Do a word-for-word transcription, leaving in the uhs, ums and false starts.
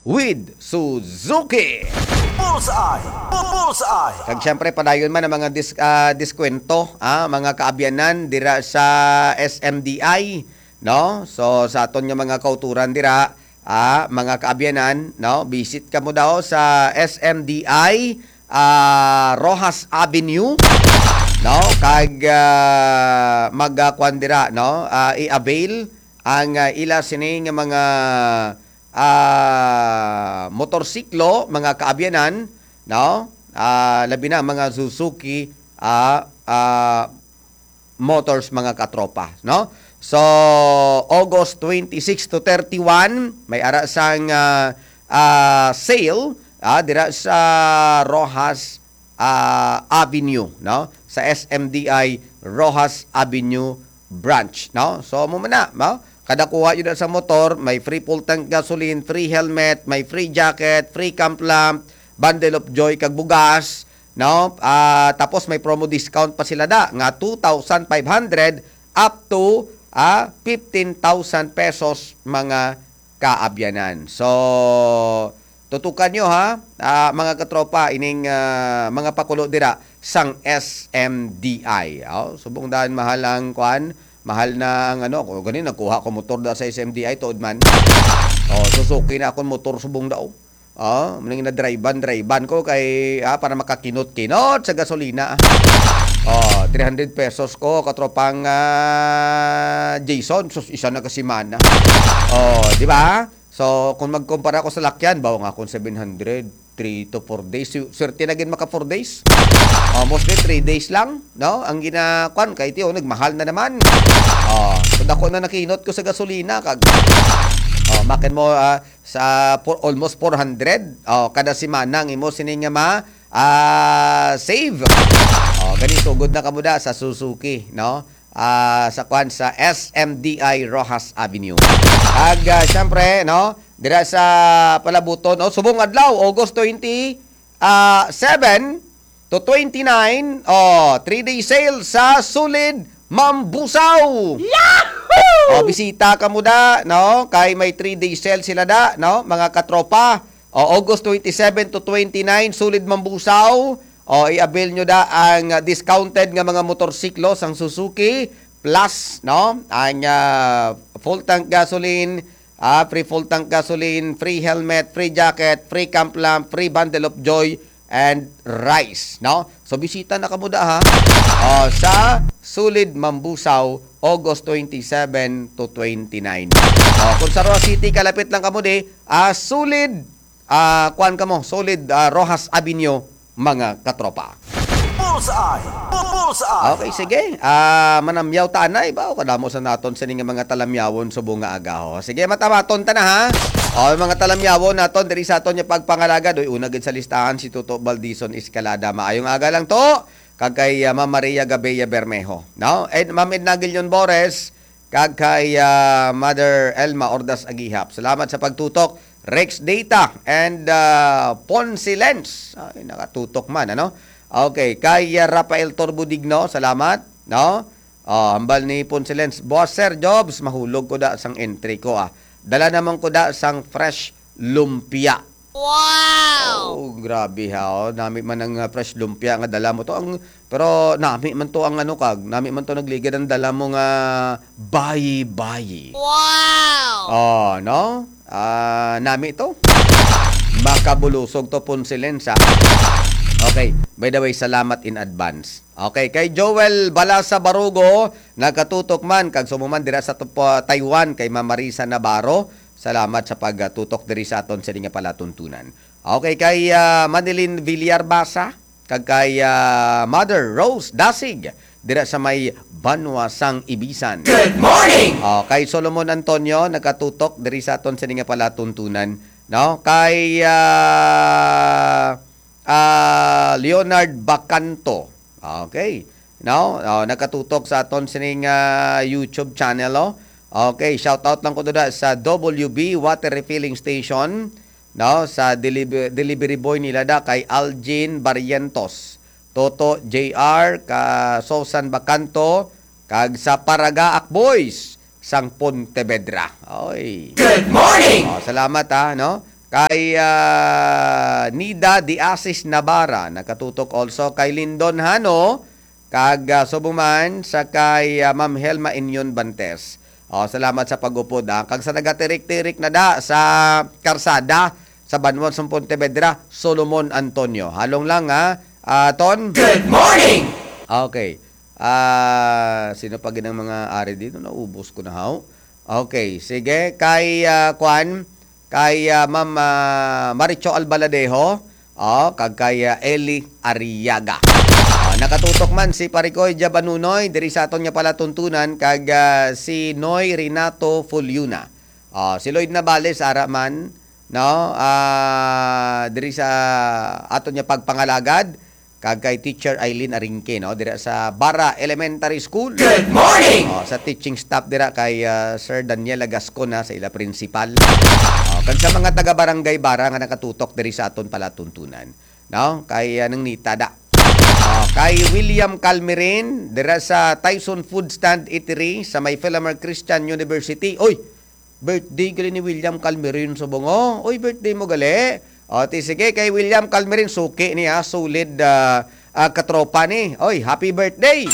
with Suzuki. Bullseye! Bullseye! Kag syempre, padayon man ang mga dis-, ah, diskwento, ah, mga kaabyanan dira sa S M D I, no? So, sa aton nga mga kauturan dira, ah, mga kaabyanan, no? Visit kamo daw sa S M D I, ah, Roxas Avenue, no? Kag, ah, mag, ah, kwan dira, no? Ah, i-avail ang, ah, ila sini nga mga, ah, motorsiklo, mga kaabyanan, no? Ah, labi na mga Suzuki, ah, ah, Motors, mga katropa, no? So, August twenty-six to thirty-one, may ara sang, ah, ah, sale, ah, dira sa Roxas, ah, Avenue, no? Sa S M D I Roxas Avenue branch, no? So, mo man na, no? Kada kuha yun sa motor, may free full tank gasoline, free helmet, may free jacket, free camp lamp, bundle of joy, kag bugas, no? Ah, tapos may promo discount pa sila da, nga two thousand five hundred up to, ah, fifteen thousand pesos, mga kaabyanan. So, tutukan nyo, ha, ah, mga katropa, ining, ah, mga pakulo dira sang S M D I. Oh, subong daan mahal ang kwan, mahal na ang ano, ko gani nagkuha ko motor da sa S M D I, tuod man. Oh, Suzuki na akong motor subong daw. Oh, muna na drive-an, drive-an ko kay, ah, para makakinot-kinot sa gasolina, ah. Oh, three hundred pesos ko, katropang, ah, Jason, sus, isa na ka semana. Oh, di ba? So, kung magkumpara ko sa lakyan, bawa nga akong seven hundred, three to four days. Su-, swerte na gid maka four days. Oh, mostly three days lang, no? Ang gina-, kwan, kay tiyo, nagmahal na naman. Oh, so dako na nakinot ko sa gasolina, kag, oh, makin mo, ah, sa four, almost four hundred, oh, kada semana ang imo sini nga ma, ah, save. Oh, gani sugod na kamo da sa Suzuki, no? Ah, sa kwan, sa S M D I Roxas Avenue. Ag, ah, syempre, no, dira sa Palabuton, no, subong adlaw, August twenty, ah, seven to twenty-nine, oh, three-day sale sa Sulid Mambusaw. Yahoo! Oh, bisita kamo da, no? Kay may three-day sale sila da, no? Mga katropa. Oh, August twenty-seven to twenty-nine, Sulid Mambusaw. Oh, i-avail nyo da ang, ah, discounted nga mga motorsiklo sang Suzuki, plus, no? Ang, ah, full tank gasoline, ah, free full tank gasoline, free helmet, free jacket, free camp lamp, free bundle of joy, and rice, no? So, bisita na kamo da, ha? Oh, sa Sulid Mambusaw, August twenty-seven to twenty-nine. Oh, kung sa Roxas City, kalapit lang kamo di, ah, Sulid, ah, kuan kamo, Sulid, ah, Roxas Avenue, mga katropa. Bullseye! Bu-, bullseye! Okay, sige. Ah, manamyaw ta anay ba? O kadamo sa naton sini nga mga talamyawon subong nga aga, ho. Sige, matamaton ta na, ha. O, mga talamyawon naton diri sa aton nga pagpangalagad. Uy, una gid sa listahan si Toto Baldison Escalada. Maayong aga lang to. Kag kay, ah, Ma'am Maria Gabea Bermejo, no? And Ma'am Edna Guillon Bores, kag kay, ah, Mother Elma Ordas Agihap. Salamat sa pagtutok. Rex Data and, ah, Ponce Lens. Ay, nakatutok man, ano? Okay, kay, ah, Rafael Torbudigno, salamat, no? Oh, hambal ni Ponce Lens, "Boss Sir Jobs, mahulog ko da sang entry ko, ah. Dala naman ko da sang fresh lumpia." Wow! Oh, grabe ha, oh. Nami man ang, ah, fresh lumpia nga dala mo to. Ang, pero nami man to ang ano kag, nami man to nagligad ang dala mo nga bayi-bayi. Wow! Oh, no? Ah, nami to. Makabulusog to, Ponce Lens, ha? Okay, by the way, salamat in advance. Okay, kay Joel Balasa Barugo, nagkatutok man, kag sumuman dira sa tupo-, Taiwan, kay Ma'am Marisa Navarro. Salamat sa pagtutok diri sa aton sini nga palatuntunan. Okay, kay, ah, Manilin Villar Basa, kag kay, ah, Mother Rose Dasig, dira sa may Banwa sang Ibisan. Good morning! Oh, kay Solomon Antonio, nagkatutok diri sa aton sini nga palatuntunan, no? Kay, ah, ah, Leonard Bacanto. Okay. No? Oh, nagkatutok sa aton sining, ah, YouTube channel, oh. Okay, shout out lang ko dira sa W B Water Refilling Station, no? Sa deliver-, delivery boy nila da kay Algin Barrientos, Toto J R, ka Susan Bacanto, kag sa Paragaak Boys sang Pontevedra. Oy. Good morning! Oh, salamat, ha, no? Kay, ah, Nida de Asis Navarra, nakatutok also. Kay Lindon Hano, kag, ah, subong man sa kay, ah, Ma'am Helma Inyon Bantes. Oh, salamat sa pag-upod, ah. Kag sa nagatirik-tirik na da sa karsada sa banwa sa Pontevedra, Solomon Antonio. Halong lang, ha, ah, Ton? Good morning! Okay. Ah, sino pa gid ang mga ari dito? Naubos ko na, haw. Okay, sige. Kay, ah, kwan, kay, ah, Ma'am, ah, Maricho Albaladejo, oh, kag kay, ah, Eli Arriaga. Ah, nakatutok man si Parikoy Jabanunoy diri sa aton nga palatuntunan, kag, ah, si Noy Renato Fuliuna. Ah, si Lloyd Navales, ara man, no? Ah, diri sa aton nga pagpangalagad, kag kay Teacher Eileen Arinque, no, dira sa Bara Elementary School. Good morning! Oh, sa teaching staff dira kay, ah, Sir Daniel Agascon, ha, sa ila principal. Oh, kag sa mga taga Barangay Bara nga nakatutok diri sa aton palatuntunan, no, kay, ah, Nang Nita da. Oh, kay William Calmerin dira sa Tyson Food Stand Eatery sa may Filamar Christian University. Oy, birthday gali ni William Calmerin sa bungo. Oy, birthday mo gali. O, ti sige, kay William Calmerin, suki niya, solid, ah, ah, katropa ni. Oy, happy birthday!